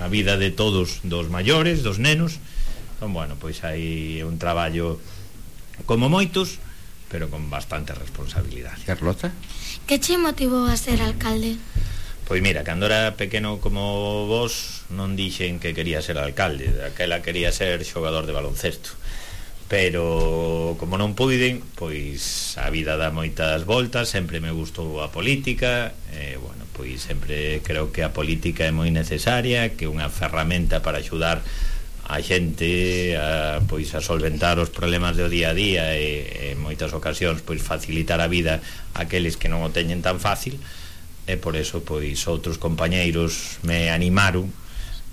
vida de todos, dos maiores, dos nenos. Entón, bueno, pois hai un traballo como moitos, pero con bastante responsabilidade. Carlota? Que che motivou a ser alcalde? Pois mira, cando era pequeno como vos non dixen que quería ser alcalde, daquela quería ser xogador de baloncesto, pero como non puiden, pois a vida dá moitas voltas, sempre me gustou a política, bueno, pois sempre creo que a política é moi necesaria, que é unha ferramenta para axudar a xente a, pois, a solventar os problemas do día a día e en moitas ocasións pois facilitar a vida a aqueles que non o teñen tan fácil, e por eso pois outros compañeiros me animaron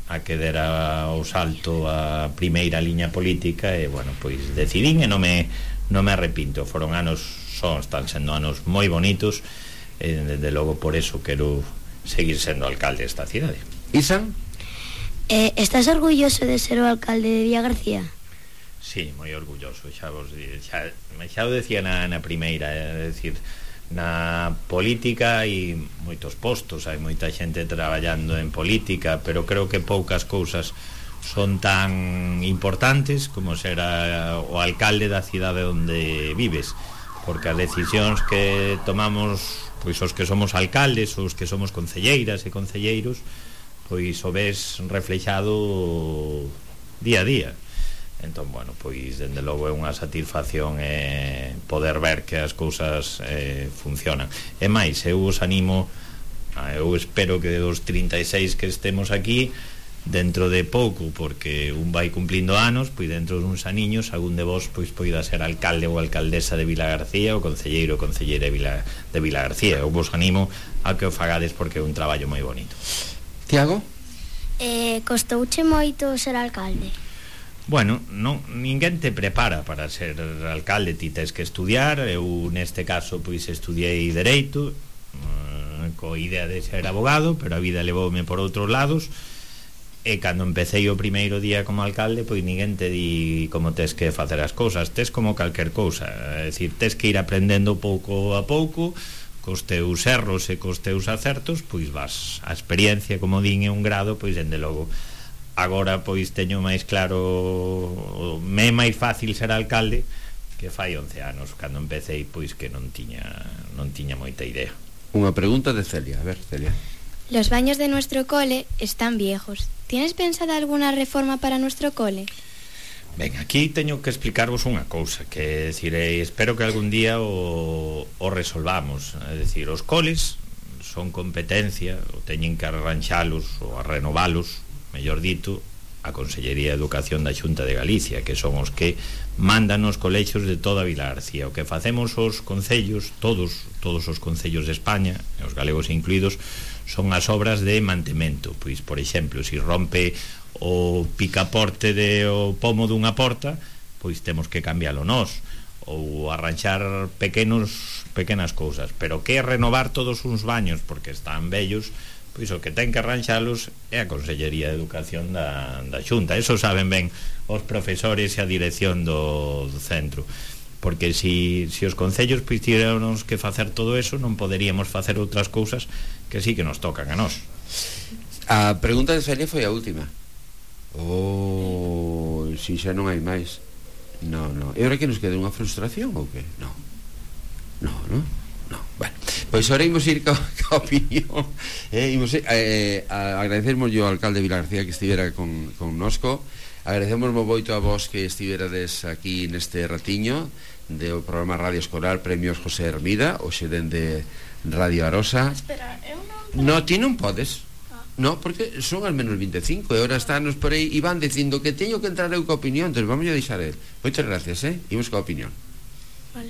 a que dera o salto a primeira liña política e, bueno, pois decidín e non me arrepinto. Están sendo anos moi bonitos e, desde logo, por eso quero seguir sendo alcalde desta cidade. Isan? Estás orgulloso de ser o alcalde de Vilagarcía? Sí, moi orgulloso, xa o decía na primeira, é dicir, na política hai moitos postos, hai moita xente traballando en política, pero creo que poucas cousas son tan importantes como ser o alcalde da cidade onde vives, porque as decisións que tomamos, pois os que somos alcaldes, os que somos concelleiras e concelleiros, pois o ves reflexado día a día. Entón, bueno, pois dende logo é unha satisfacción poder ver que as cousas funcionan. E máis, eu os animo, eu espero que dos 36 que estemos aquí, dentro de pouco, porque un vai cumplindo anos, pois dentro duns aniños algún de vos pois poida ser alcalde ou alcaldesa de Vilagarcía ou concelleiro ou concelleira de Vilagarcía. Eu vos animo a que o fagades porque é un traballo moi bonito. Tiago? Costouche moito ser alcalde? Bueno, non, ninguén te prepara para ser alcalde, ti tes que estudiar. Eu neste caso pois estudiei Dereito co idea de ser abogado, pero a vida levoume por outros lados, e cando empecéi o primeiro día como alcalde, pois ninguén te di como tes que facer as cousas, tes como calquer cousa, é dicir, tes que ir aprendendo pouco a pouco, cos teus erros e cos teus acertos, pois vas a experiencia, como din, é un grado, pois dende logo agora pois teño máis claro, me é máis fácil ser alcalde que fai 11 anos, cando empecéi pois que non tiña moita idea. Unha pregunta de Celia, a ver, Celia. Los baños de nuestro cole están viejos. ¿Tienes pensada alguna reforma para nuestro cole? Ben, aquí teño que explicarvos unha cousa, que decir, espero que algún día o resolvamos. É dicir, os coles son competencia, o teñen que arranxalos ou a renovalos, mellor dito, a Consellería de Educación da Xunta de Galicia, que son os que mandan os colexios de toda Vilagarcía. O que facemos os concellos, todos os concellos de España, os galegos incluídos, son as obras de mantemento. Pois, por exemplo, se rompe o picaporte o pomo dunha porta, pois temos que cambialo nós, ou arranxar pequenas cousas. Pero que é renovar todos uns baños porque están vellos, pois o que ten que arranxalos é a Consellería de Educación da Xunta. Eso saben ben os profesores e a dirección do centro, porque se os concellos pois tiráramos que facer todo eso, non poderíamos facer outras cousas que sí que nos tocan a nós. A pregunta de Celia foi a última. Si xa non hai máis. No. E agora que nos queda unha frustración ou que? No. Bueno, pois agora imos ir ca opinión. Agradecemos ao alcalde de Vilagarcía que estivera connosco. Agradecemos moito a vos que estiverades aquí neste ratiño do programa Radio Escolar Premios José Hermida, hoxe dende Radio Arosa. Espera, eu non... No, ti non podes. No, porque son al menos 25 e ahora estános por aí e van dicindo que teño que entrar eu ca opinión, entón vamos a deixar el. Moitas gracias, imos ca opinión. Vale.